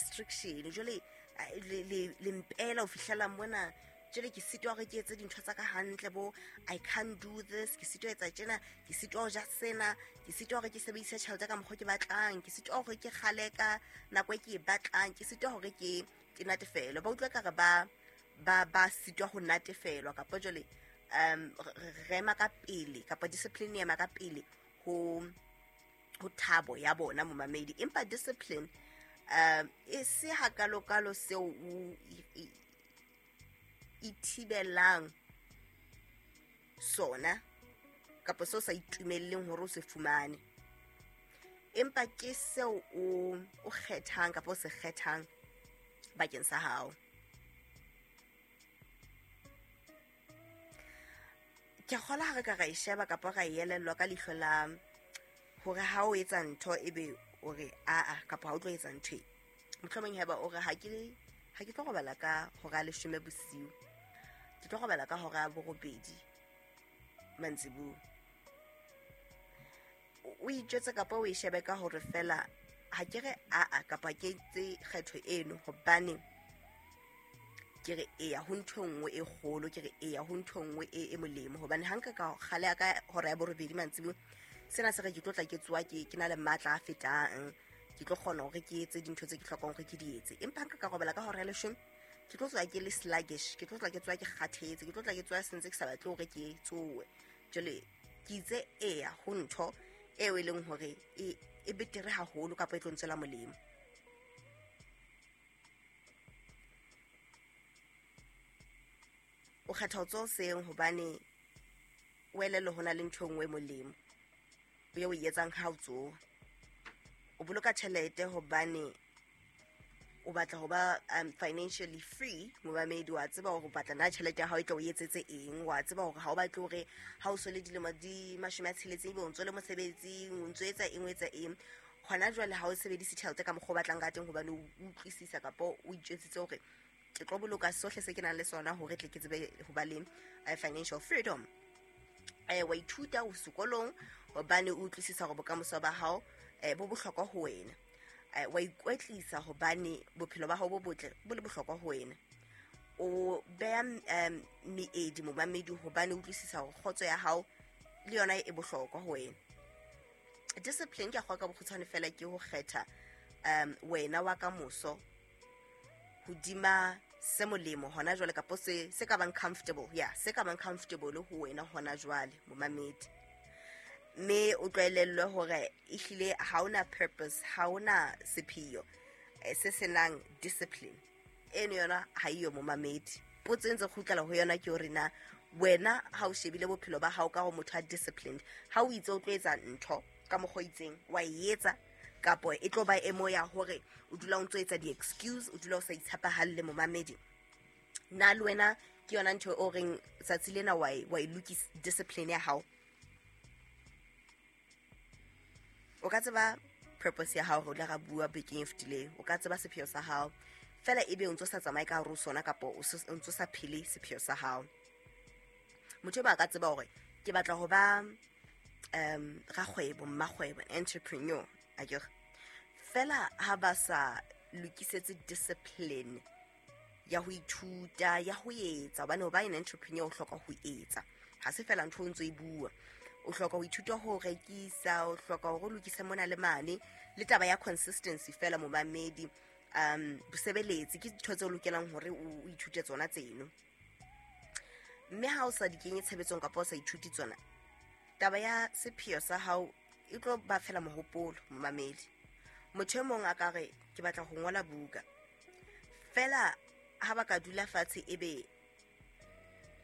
restriction. Jwale le mpela ho fihlela mona, jwale ke sitwa hore ke etse dintho tsa ka hantle, bo I can't do this, ke sitwa etsa tjena, ke sitwa ho ja sena, ke sitwa hore ke sebedise tjhelete ka mokgwa ke batlang, ke sitwa hore ke kgale ka nako e ke e batlang, ke sitwa hore ke natefelwe. Ba utlwa ekare ba sitwa ho natefelwa, kapa jwale re ema ka pele, kapa discipline e ema ka pele ho thabo ya bona momamedi. Empa discipline e se hakalokalo seo o ithibelang sona kapa seo sa itumelleng hore o se fumane, empa ke seo o kgethang kapa o se kgethang bakeng sa hao. Ke kgola ha re ka ra e sheba kapa ra e elellwa ka leihlo la hore ha o etsa ntho ebe o re aa, kapa ha o tlo etsa ntho e. Mohlomong haeba o re ha ke tlo robala ka hora ya 10 bosiu, ke tlo robala ka hora ya 8 mantsibuya. O itjwetse kapa o e shebe ka hore fela ha ke re aa kapa ke etse kgetho eno hobane ke re eya ho ntho e nngwe e kgolo, ke re eya ho ntho e nngwe e molemo. Hobane ha nka ka kgale ya ka hora ya 8 mantsibuya, sena se re ke tlo tla ke tsoha ke na le matla a fetang, ke tlo kgona hore ke etse dintho tse ke hlokang hore ke di etse. Empa nka ka robala ka hora ya 10, ke tlo tsoha ke le sluggish, ke tlo tla ke tsoha ke kgathetse, ke tlo tla ke tsoha sentse ke sa batle hore ke tsohe. Jwale ke itse eya ho ntho eo e leng hore e betere haholo kapa e tlo ntswela molemo. O kgetha ho tsoha hoseng hobane o elellwe ho na le ntho e nngwe e molemo o e etsang ha o tsoha. O boloka tjhelete hobane o batla ho ba financially free momamedi. Wa tseba hore o batla na tjhelete ya hao e tla o etsetse eng, wa tseba hore ha o batle hore ha o so le dilemo di 60 ebe o ntso le mosebetsing, o ntso etsa eng, o etsa eng. Hona jwale ha o sebedise tjhelete ka mokgwa o batlang ka teng hobane o utlwisisa kapa o itjwetsitse hore ke tlo boloka sohle se ke nang le sona hore tle ke tsebe ho ba le financial freedom. Wa ithuta o sekolong hobane o utlwisisa hore bokamoso ba hao bo bohlokwa ho wena. Wa ikwetlisa hobane bophelo ba hao bo botle bo le bohlokwa ho wena. O beha meedi momamedi hobane o utlwisisa hore kgotso ya hao le yona e bohlokwa ho wena. Discipline ke a kgwa ka bokgutshwane fela ke ho kgetha wena wa kamoso hodima se molemo hona jwale, kapa se ka bang comfortable, ya se ka bang comfortable ho wena hona jwale momamedi. Mme o tlwaelellwe hore ehlile ha ona purpose, ha ona sepheo se senang discipline. Eno yona ha eyo momamedi. Potso e ntse kgutlela ho yona ke hore na wena ha o shebile bophelo ba hao ka hore motho a disciplined, ha o itse o tlo etsa ntho ka mokgwa o itseng, wa e etsa, kapo e tlo ba e mo ya hore o dula o ntso etsa di-excuse, o dula o sa itshepahalle momamedi. Na le wena ke yona ntho o reng tsatsi lena wa e lokisa discipline ya hao? O ka tseba purpose ya hao, re ile ra bua bekeng e fetileng, o ka tseba sepheo sa hao fela ebe o ntso sa tsamaye ka hare ho sona, kapa o ntso sa phele sepheo sa hao. Motho ba ka tseba hore ke batla ho ba rakgwebo, mmakgwebo, entrepreneur, akere. Fela ha ba sa lokisetse discipline ya ho ithuta, ya ho etsa, hobane ho ba an entrepreneur o hloka ho etsa, ha se fela ntho o ntso e bua. O hloka ho ithuta ho rekisa, o hloka hore o lokise mona le mane, le taba ya consistency fela momamedi, bosebeletsi ke dintho tse o lokelang hore o ithute tsona tseno. Mme ha o sa di kenye tshebetsong kapa o sa ithuti tsona, taba ya sepheo sa hao e tlo ba fela mohopolo momamedi. Motho e mong a ka re ke batla ho ngola buka, fela ha ba ka dula fatshe ebe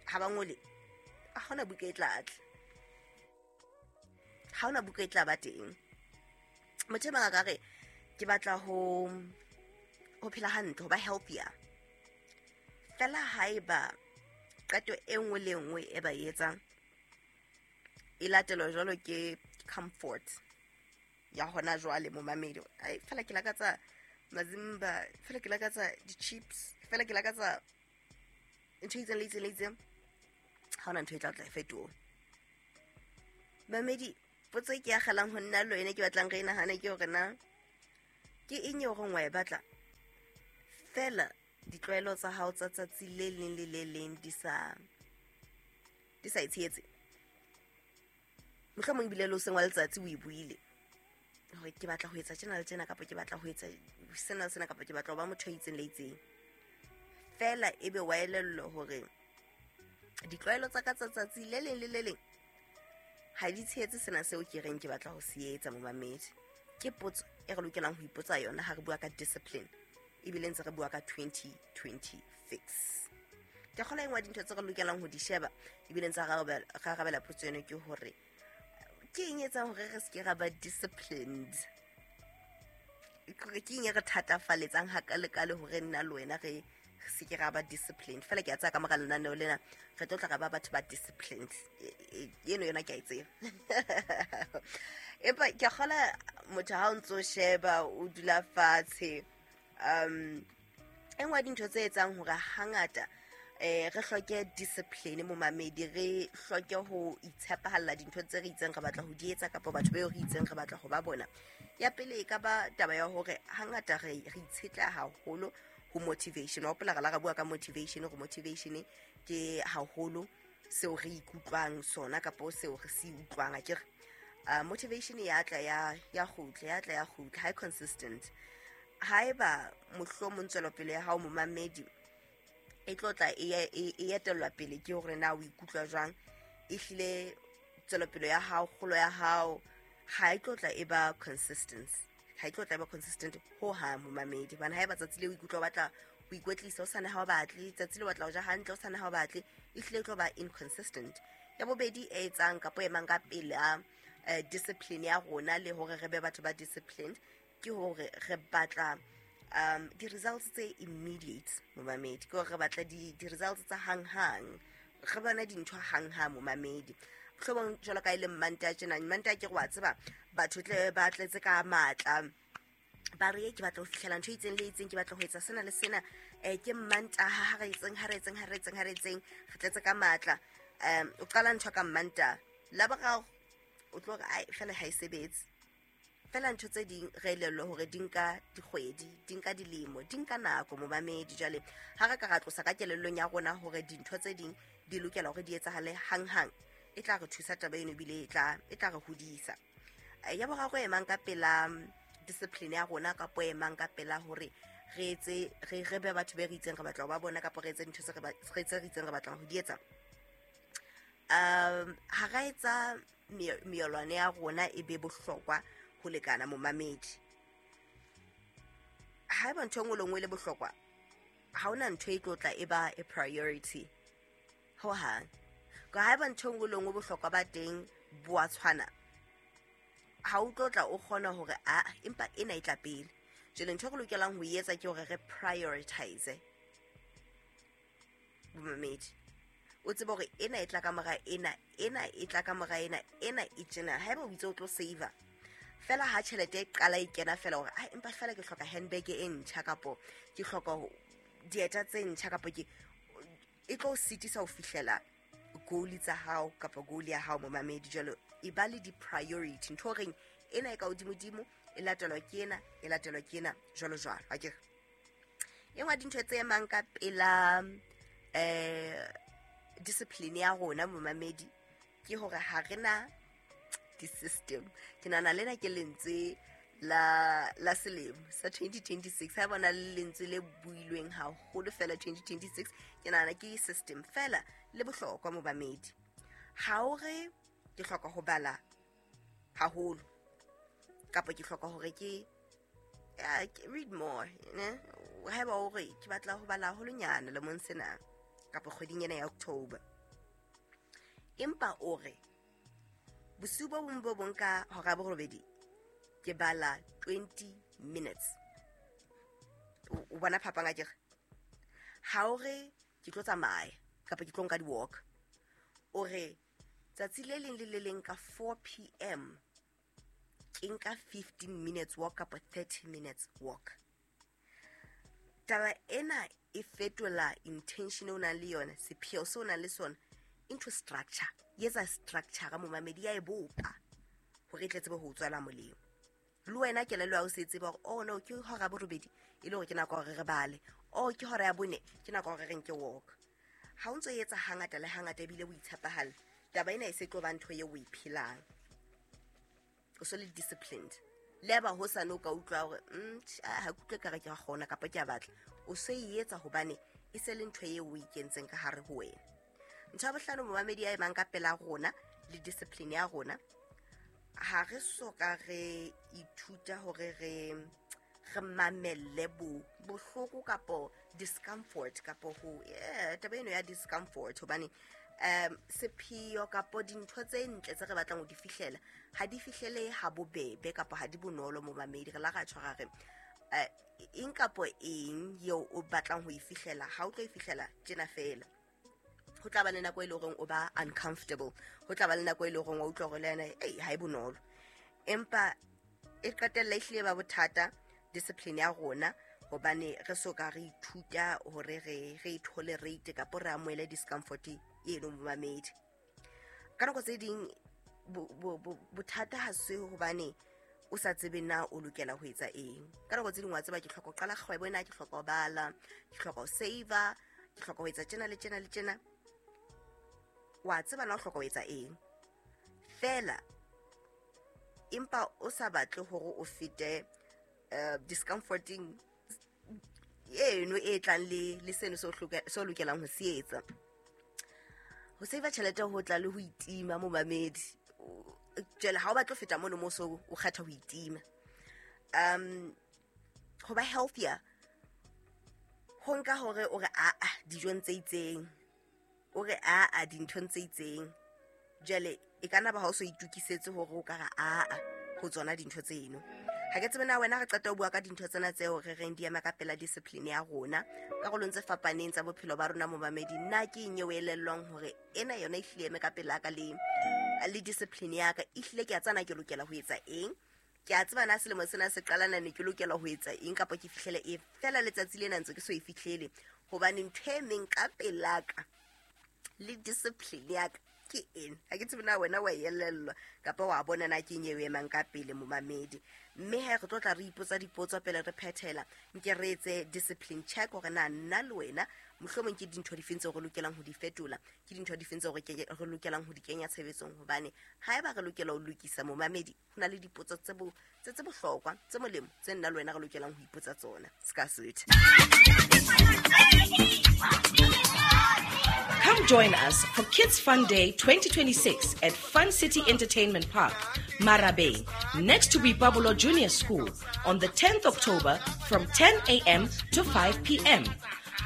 ha ba ngole, ha hona buka e tla tla, ha hona buka e tla ba teng. Motho e mong a ka re ke batla ho phela hantle, ho ba healthier, fela haeba qeto e nngwe le nngwe e ba e etsang e latelwa jwalo ke comfort ya hona jwale momamedi. Ai, fela ke lakatsa mazimba, fela ke lakatsa di-chips, fela ke lakatsa ntho e itseng le itseng le itseng, ha hona ntho e tla tla e fetoha. Mamedi, potso e ke akgelang ho nna le wena, ke batlang re e nahane ke hore na ke eng eo reng wa e batla Fela ditlwaelo tsa hao tsa tsatsi le leng le le leng di sa e tshehetse. Mohlomong ebile le o seng wa letsatsi o e buile hore ke batla ho etsa tjena le tjena, kapa ke batla ho etsa sena le sena, kapa ke batla ho ba motho a itseng le itseng. Fela ebe wa elellwa hore ditlwaelo tsa ka tsa tsatsi le leng le le leng ha di tshehetse sena seo ke reng ke batla ho se etsa, momamedi. Ke potso e re lokelang ho ipotsa yona ha re bua ka discipline, ebile ntse re bua ka 2026. Ke kgola engwe dintho tse re lokelang ho di sheba ebile ntse re arabela potso eno ke hore ke eng etsang hore re se ke ra ba disciplined? Ke eng e re thatafaletsang hakalekale hore nna le wena re se ke ra ba disciplined? Fela ke a tsaya ka mora lenaneo lena re tlo tla ra ba batho ba disciplined. Eno yona ke a e tseba. Empa ke kgola motho ha o ntso sheba o dula fatshe, e nngwe ya dintho tse etsang hore hangata re hloke discipline momamedi, re hloke ho itshepahalla dintho tse re itseng re batla ho di etsa kapa batho beo re itseng re batla ho ba bona. Ya pele e ka ba taba ya hore hangata re itshetleha haholo ho motivation. Wa hopola re la re bua ka motivation, hore motivation ke haholo seo re ikutlwang sona kapa seo re se utlwang, akere? Motivation ya tla ya kgutla, ya tla ya kgutla, ha e consistent. Haeba mohlomong tswelopele ya hao momamedi e tlo tla e etellwa pele ke hore na o ikutlwa jwang, ehlile tswelopele ya hao, kgolo ya hao ha e tlo tla e ba consistent, ha e tlo tla e ba consistent ho hang momamedi. Hobane haeba tsatsi le o ikutlwa o batla ho ikwetlisa, o sane ha o batle, tsatsi le o batla ho ja hantle, o sane ha o batle, ehlile e tlo ba inconsistent. Ya bobedi e etsang kapa e emang ka pela discipline ya rona le hore re be batho ba disciplined ke hore re batla di-results tse immediate momamedi. Ke hore re batla di-results tsa hang-hang, re bona dintho hang-hang momamedi. Mohlomong jwalo ka e le Mmantaha tjena, Mmantaha ke re wa tseba batho tle ba tletse ka matla, ba re ke batla ho fihlela ntho e itseng le itseng, ke batla ho etsa sena le sena, ke Mmantaha, ha re etseng, ha re etseng, ha re etseng, ha re etseng, re tletse ka matla. O qala ntho ka Mmantaha, Laboraro o tlo re ai fela ha e sebetse. Fela ntho tse ding re elellwe hore di nka dikgwedi, di nka dilemo, di nka nako momamedi. Jwale ha re ka ra tlosa ka kelellong ya rona hore dintho tse ding di lokela hore di etsahale hang-hang, e tla re thusa taba eno ebile e tla re hodisa. Ya boraro e emang ka pela discipline ya rona kapa e emang ka pela hore re etse re be batho be re itseng re batla ho ba bona kapa re etse dintho tse re itseng re batlang ho di etsa, ha ra etsa meyolwane ya rona e be bohlokwa ho lekana momamedi. Haeba ntho e nngwe le nngwe e le bohlokwa, ha hona ntho e tlo tla e ba a priority ho hang. Ka haeba ntho e nngwe le nngwe bohlokwa ba teng bo a tshwana, ha o tlo tla o kgona hore a empa ena e tla pele. Jwale ntho e re lokelang ho etsa ke hore re prioritize momamedi. O tsebe hore ena e tla ka mora ena, ena e tla ka mora ena, ena e tjena. Haeba o itse o tlo save-a fela ha tjhelete e qala e kena fela hore ai empa fela ke hloka handbag e ntjha kapo ke hloka dieta tse ntjha kapo ke e tlo sitisa ho fihlela goal tsa hao kapa goal ya hao momamedi. Jwale e ba le di-priority, ntho reng ena e ka hodimodimo e latelwa ke ena, e latelwa ke ena, jwalo jwalo. Akere e nngwe ya dintho tse emang ka pela discipline ya rona momamedi ke hore ha re na di-system. Ke nahana lena ke lentswe la selemo sa 2026. Ha bona le lentswe le builweng haholo fela 2026, ke nahana ke system fela le bohlokwa momamedi. Ha o re ke hloka ho bala haholo kapa ke hloka hore ke read more, ne? Haeba o re ke batla ho bala haholonyana lemong sena kapa kgweding ena ya October, empa o re bosiu bo bong bo bong ka hora ya borobedi ke bala 20 minutes. O bona phapang akere? Ha o re ke tlo tsamaya kapa ke tlo nka di-walk, o re tsatsi le leng le le leng ka 4 p.m. ke nka 15 minutes walk kapa 30 minutes walk. Taba ena e fetola intention o nang le yona, sepheo se o nang le sona into structure. E etsa structure momamedi, ya e bopa hore e tle tsebe ho tswela molemo. Le wena kelello ya hao se tseba hore oh no, ke hora borobedi e le hore ke nako hore re bale, Oh, ke hora ya 4, ke nako hore re nke walk. Ha o ntso etsa hangata le hangata ebile o itshepahala, taba ena e se tlo ba ntho eo o e phelang. O so le disciplined. Le ba ho sa no ka utlwa hore ha ke utlwe ka re ke a kgona kapa ke a batla. O se e etsa hobane e se le ntho eo o ikentseng ka hare ho wena. Ntho ya bohlano, momamedi ya emang ka pela rona le discipline ya rona, ha re soka re ithuta hore re mamelle bohloko kapo discomfort kapo ho taba eno ya discomfort, hobane sepheo kapo dintho tse ntle tse re batlang ho di fihlela ha di fihlele ha bobebe kapo ha di bonolo. Momamedi, re la ra tshwara re eng kapo eng eo o batlang ho e fihlela, ha o tlo e fihlela tjena fela. Ho tla ba le nako e leng hore o ba uncomfortable, ho tla ba le nako e leng hore wa utlwa hore le yena ei ha e bonolo, empa e qetella e hlile ba bothata discipline ya rona, hobane re so ka re ithuta hore re tolerate kapo re amohele discomfort eno. Momamedi, ka nako tse ding bothata ha se hobane o sa tsebe na o lokela ho etsa eng. Ka nako tse ding wa tseba ke hloka ho qala kgwebo ena, ke hloka ho bala, ke hloka ho save-a, ke hloka ho etsa tjena le tjena le tjena. Wa tseba na o hloka ho etsa eng fela, empa o sa batle hore o fete discomforting eno e tlang le seno se o lokelang ho se etsa. Ho save tjhelete ho tla le ho itima, momamedi. Jwale ha o batla ho feta mono mo so o kgetha ho itima. Ho ba healthier ho nka hore o re a dijong tse itseng, o re a dinthong tse itseng. Jwale e ka nna ba ha o so itukisetse hore o ka re a ho tsona dintho tseno. Ha ke tsebe na wena re qeta ho bua ka dintho tsena tseo re reng di ema ka pela discipline ya rona karolong tse fapaneng tsa bophelo ba rona. Momamedi, nna ke eng eo elellwang hore ena yona e hlile eme ka pela ka le discipline ya ka, e hlile ke a tsana ke lokela ho etsa eng, ke a tseba na selemo sena se qalana ne ke lokela ho etsa eng kapa ke fihlele e fela letsatsi lena ntse ke so e fihlele, hobane ntho e meng ka pela ka le discipline ya ka ke eng. Ha ke tsebe na wena wa elellwa kapa wa bona na ke eng eo emang ka pele, momamedi. Mme he re tlo tla re ipotsa dipotso pele re phethela, nke re etse discipline check hore na nna le wena mohlomong ke dintho difeng tseo re lokelang ho di fetola, ke dintho difeng tseo re lokelang ho di kenya tshebetsong, hobane haeba re lokela ho lokisa, momamedi, ho na le dipotso tse bohlokwa tse molemo tse nna le wena re lokelang ho ipotsa tsona. Ska sweet. Come join us for Kids Fun Day 2026 at Fun City Entertainment Park, Marabeng, next to Boipabolo Junior School on the 10th October from 10 a.m. to 5 p.m.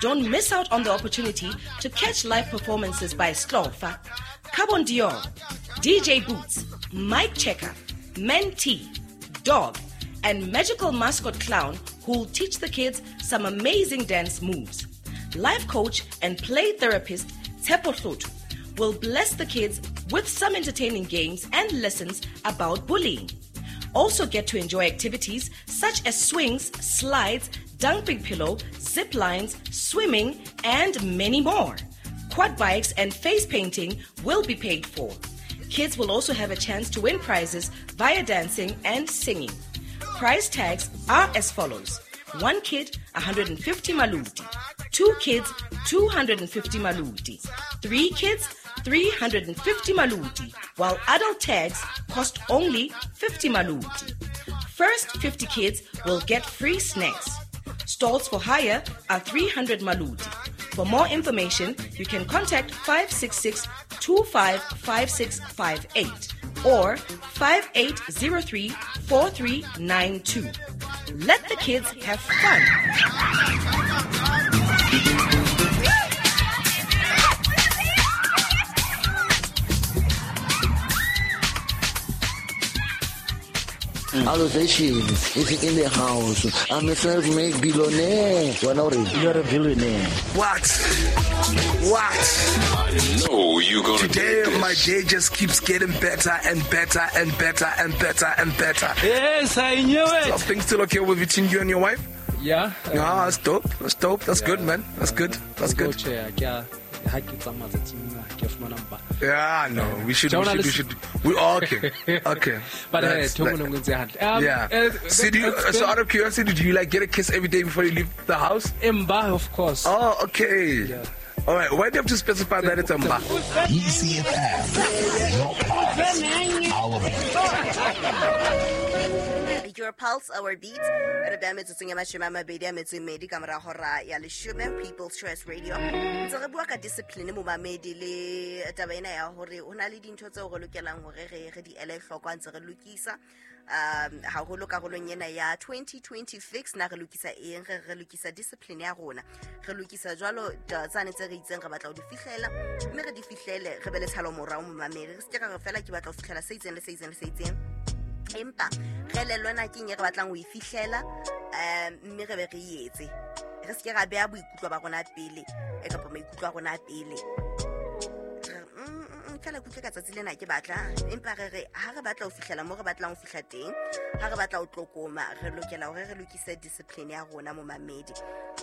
Don't miss out on the opportunity to catch live performances by Slofa, Carbon Dior, DJ Boots, Mike Checker, Mentee, Dog, and magical mascot clown who'll teach the kids some amazing dance moves. Life coach and play therapist Tshepo Hloto will bless the kids with some entertaining games and lessons about bullying. Also get to enjoy activities such as swings, slides, dumping pillow, zip lines, swimming, and many more. Quad bikes and face painting will be paid for. Kids will also have a chance to win prizes via dancing and singing. Prize tags are as follows. 1 kid, 150 maluti. 2 kids, 250 maluti. 3 kids, 350 maluti, while adult tags cost only 50 maluti. First 50 kids will get free snacks. Stalls for hire are 300 maluti. For more information, you can contact 566-255658 or 5803-4392. Let the kids have fun. Allocation is in the house. I'm a self-made billionaire. You're a billionaire. What? What? I know you're gonna today, do this. My day just keeps getting better and better and better and better and better. Yes, I knew it. So things still okay with between you and your wife? Yeah. Yeah, that's dope. That's dope. That's good, man. That's good. That's good. Yeah. Ha ke tsamaya tsatsing lena, ha ke a fumana mpa. Yeah, no, we should, we should, we okay, okay. But ntho e nngwe le nngwe e ntse hantle. Yeah. So, so out of curiosity, do you like get a kiss every day before you leave the house? Mba, of course. Oh, okay. Yeah. All right. Why do you have to specify that it's a mba? ECFM, your pulse, our beat. Your pulse, our beat. Re beha metsotsong ya 22 ka mora hora ya 10, People's Choice Radio. Ntse re bua ka discipline momamedi le taba ena ya hore ho na le dintho tseo re lokelang hore re di ele hloko ha ntse re lokisa. Haholo karolong ena ya 2026 na re lokisa eng, re lokisa discipline ya rona, re lokisa jwalo tsane tse re itseng re batla ho di fihlela, mme re di fihlele re be le tshalo morao momamedi. Re se ke ra re fela ke batla ho fihlela se itseng le se itseng le se itseng, empa re elellwe na ke eng e re batlang ho e fihlela, mme re be re e etse. Re se ke ra beha boikutlo ba rona pele, kapa maikutlo a rona pele. Fela ke utlwe ka tsatsi lena ke batla, empa re re ha re batla ho fihlela mo re batlang ho fihla teng, ha re batla ho tlokoma, re lokela hore re lokise discipline ya rona momamedi.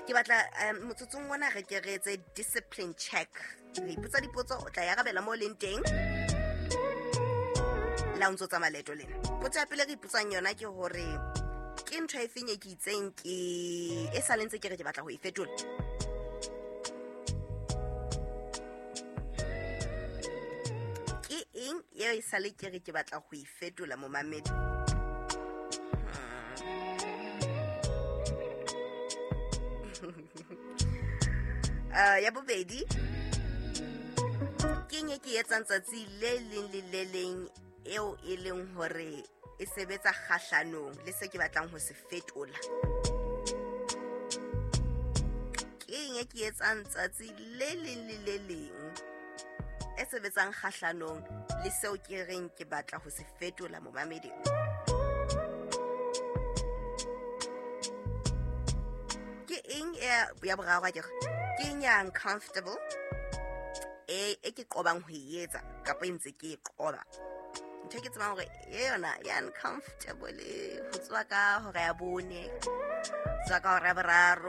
Ke batla motsotsong ona re ke re etse discipline check. Re ipotsa dipotso, o tla e arabela mo o leng teng. La o ntso tsamaya leeto lena. Potso ya pele re ipotsang yona ke hore ke ntho e feng e ke itseng ke e sa le ntse ke re ke batla ho e fetola. Ke eng eo e sa le ke re ke batla ho e fetola momamedi? Ya bobedi, ke eng e ke etsang tsatsi le leng le le leng eo e leng hore e sebetsa kgahlanong le se ke batlang ho se fetola? Ke eng e ke etsang tsatsi le leng le le leng e sebetsang kgahlanong le seo ke reng ke batla ho se fetola momamedi? Ke eng ya boraro akere? Ke eng ya uncomfortable e ke qobang ho e etsa kapa e ntse ke e qoba? Ntho e ke tsebang hore e yona ya uncomfortable ho tswa ka hora ya 4, tswa ka hora ya 3,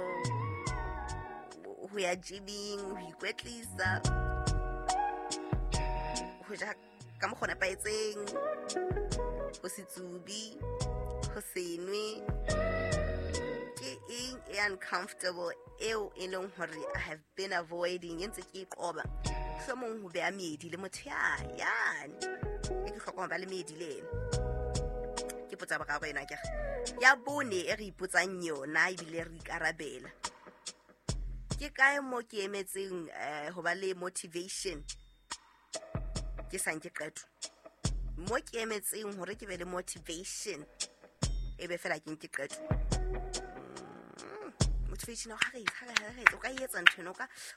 ho ya gyming, ho ikwetlisa, ho ja ka mokgwa o nepahetseng, ho se tsubi, ho se nwe. Ke eng e uncomfortable eo e leng hore I have been avoiding, e ntse ke e qoba? Mohlomong ho beha meedi le motho yane e ke hlokang ho ba le meedi le ena. Ke potsa boraro ena akere. Ya bone e re ipotsang yona ebile re ikarabela, ke kae mo ke emetseng ho ba le motivation ke sa nke qeto? Mo ke emetseng hore ke be le motivation e be fela ke nke qeto. Motivation ha re o ka etsa ntho eno,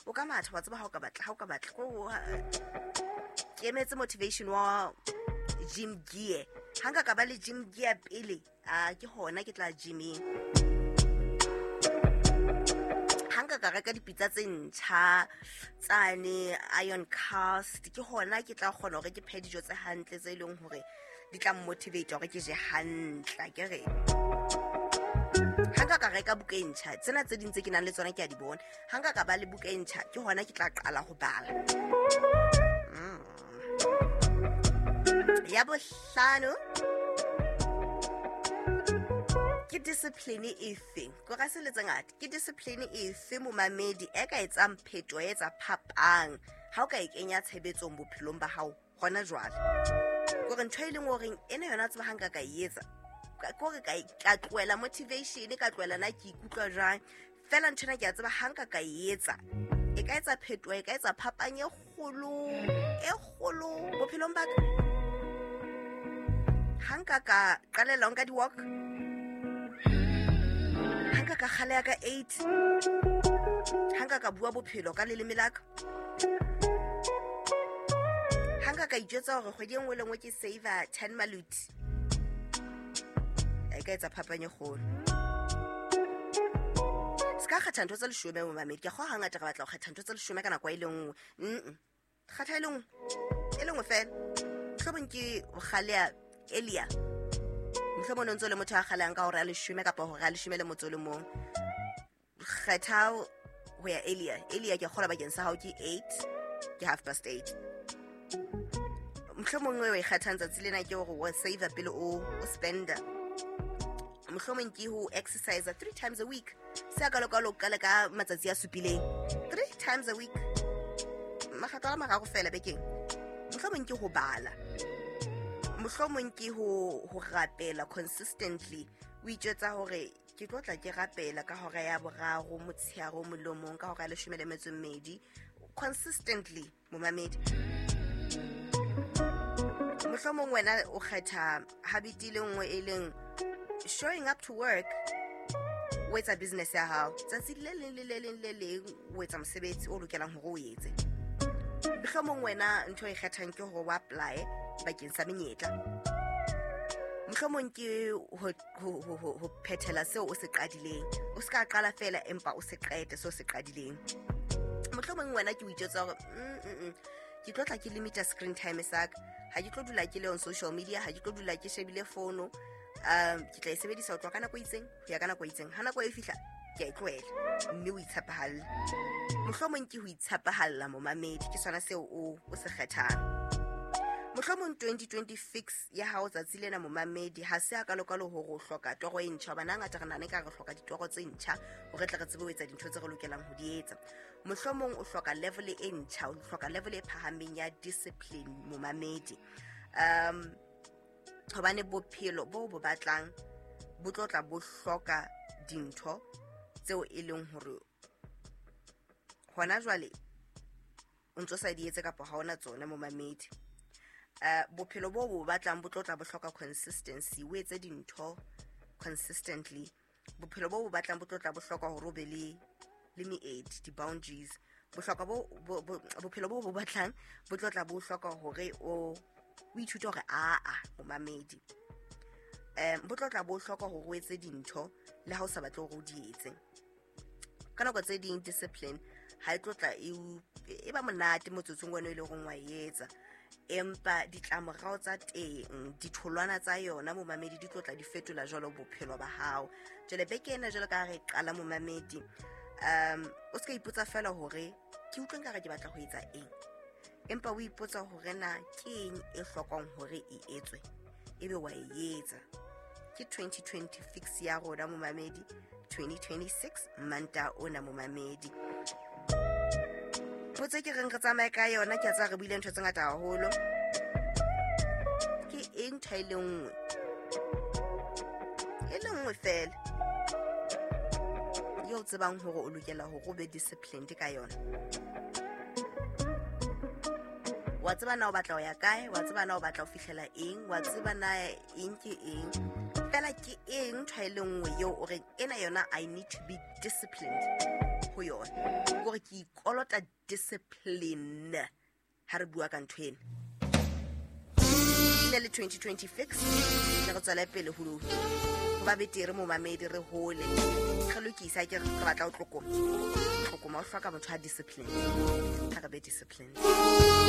o ka matha, wa tseba ha o ka batla, ha o ka batla ke emetse motivation wa gym gear. Ha nka ka ba le gym gear pele, ke hona ke tla gyming. Ha nka ka reka dipitsa tse ntjha tsane iron cast, ke hona ke tla kgona hore ke phe dijo tse hantle tse leng hore di tla motivate hore ke je hantle akere. Ha nka ka reka buka e ntjha, tsena tse ding tse ke nang le tsona ke a di bona. Ha nka ka ba le buka e ntjha, ke hona ke tla qala ho bala. Ya bohlano, ke discipline efe? Ko ra se le tse ngata. Ke discipline efe momamedi e ka etsang phetoho, e etsa phapang ha o ka e kenya tshebetsong bophelong ba hao hona jwale? Kore ntho e leng horeng ena yona tseba ha nka ka e etsa, kore ka tlohela motivation, ka tlohela na ke ikutlwa jwang, fela ntho ena ke a tseba ha nka ka e etsa, e ka etsa phetoho, e ka etsa phapang e kgolo bophelong ba ka. Ha nka ka qalella ho nka di-walk, ha nka ka kgaleha ka 8, ha nka ka bua bophelo ka leleme la ka, ha nka ka ijwetsa hore kgwedi e nngwe le nngwe ke save-a 10 maluti, e ka etsa phapang e kgolo. Se ka kgetha ntho tse 10 momamedi. Ke a kgolwa hangata re batla ho kgetha ntho tse 10 ka nako e le nngwe. Kgetha e le nngwe fela. Mohlomong ke ho kgaleha earlier, mohlomong o ntso le motho a kgalehang ka hora ya 10 kapa hora ya 11. Kgetha ho ya earlier. Earlier ke kgola bakeng sa hao ke 8, ke 8:30. Mohlomong o e kgethang tsatsi lena ke hore o save pele o spender. Mohlomong ke ho exercise 3 times a week. Se ka lokalo ka le ka matsatsi a supileng. 3 times a week. Makgetlo a mararo fela bekeng. Mohlomong ke ho bala. Mohlomong ke ho rapela consistently. O itjwetsa hore ke tlo tla ke rapela ka hora ya 3 motshehare molomong ka hora ya 12 consistently momamedi. Mohlomong wena o kgetha habit e le nngwe e leng showing up to work, o etsa business ya hao tsatsi le leng le le leng le leng, o etsa mosebetsi o lokelang hore o etse. Mohlomong wena ntho e kgethang ke hore o apply bakeng sa menyetla. Mohlomong ke ho phethela seo o se qadileng. O se ka qala fela empa o se qete seo se qadileng. Mohlomong wena ke o itjwetsa hore ke tlo tla ke limita screen time sa ka. Ha ke tlo dula ke le on social media, ha ke tlo dula ke shebile fono. Ke tla e sebedisa ho tloha ka nako e itseng ho ya ka nako e itseng. Ha nako e fihla ke a e tlohela mme o itshepahalla. Mohlomong ke ho itshepahalla momamedi, ke sona seo o se kgethang. Mohlomong 2020 fix ya hao tsatsi lena momamedi ha se a ka lokalo hore o hloka toro e ntjha, hobane hangata re nahana ekare re hloka ditoro tse ntjha hore tle re tsebe ho etsa dintho tse re lokelang ho di etsa. Mohlomong o hloka level e ntjha, o hloka level e phahameng ya discipline momamedi. Hobane bophelo bo bo batlang bo tlo tla bo hloka dintho tseo e leng hore hona jwale o ntso sa di etse kapa ha ona tsona momamedi. Bophelo bo bo batlang bo tlo tla bo hloka consistency, o etse dintho consistently. Bophelo bo bo batlang bo tlo tla bo hloka hore o be le meedi, di-boundaries. Bohlokwa bophelo bo bo batlang bo tlo tla bo hloka hore o ithute hore aa momamedi. Bo tlo tla bo hloka hore o etse dintho le ha o sa batle hore o di etse. Ka nako tse ding discipline ha e tlo tla e ba monate motsotsong wena e leng hore wa e etsa, empa ditlamorao tsa teng, ditholwana tsa yona momamedi di tlo tla di fetola jwalo bophelo ba hao. Jwale beke ena jwalo ka ha re qala momamedi, o se ka ipotsa fela hore ke utlwe nkare ke batla ho etsa eng, empa o ipotsa hore na ke eng e hlokang hore e etswe, ebe wa e etsa. Ke 2020 fix ya rona momamedi, 2026 Manta ona momamedi. Potso ke reng re tsamaye ka yona, ke a tseba re buile ntho tse ngata haholo. Ke eng ntho e le nngwe? E le nngwe fela eo o tsebang hore o lokela hore o be disciplined ka yona. Wa tseba na o batla ho ya kae, wa tseba na o batla ho fihlela eng, wa tseba na eng ke eng. Fela ke eng ntho e le nngwe eo o reng ena yona I need to be disciplined ho yona. Hore ke ikolota discipline ha re bua ka ntho ena. Ne le 2020 fix, ne re tswela pele ho ba betere momamedi, re hole, re lokisa ke re batla ho tlokoma. Tlokoma o hloka motho a discipline. Ha re be disciplined.